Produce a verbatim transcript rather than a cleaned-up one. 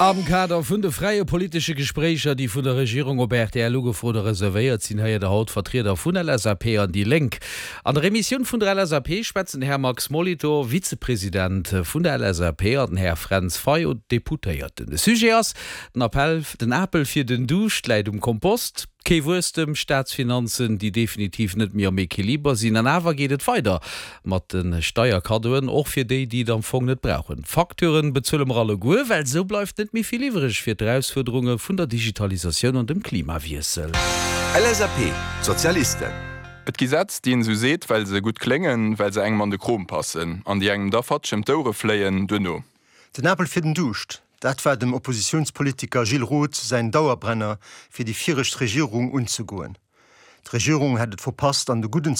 Am Kader vun de fräie politesche Gespréicher, déi vun der Regierung op R T L ugefrot a reservéiert sinn, héiert der haut Vertrieder vun L S A P an déi Lénk. An der Emissioun vun der L S A P schwätzen den Här Max Molitor, Vizepresident vun der L S A P, an den Här Fränz Fayot, Deputéierten. De Sujet ass den Appell, den Apel fir den Duuscht läit um Kompost. Kee Wuesstem, Staatsfinanzen, déi definitiv net méi am Equiliber sinn, an awer geet et weider mat de Steierkaddoen, och fir déi, déi et am Fong net brauchen. Facturen bezuele mer alleguer, well sou bleift net méi vill iwwreg fir d'Erausfuerderunge vun der Digitalisatioun an dem Klimawiessel. L S A P, Sozialisten. Et gi Sätz, déi een sou seet, well se gutt kléngen, well se engem an de Krom passen, an déi engem da fatsch ëm d'Ouere fléien duerno. Den Apel fir den Duuscht, dat war dem Oppositiounspolitiker Gilles Roth säin Dauerbrenner fir déi viregt Regierung unzegoen. D'Regierung hätt et verpasst, an de gudden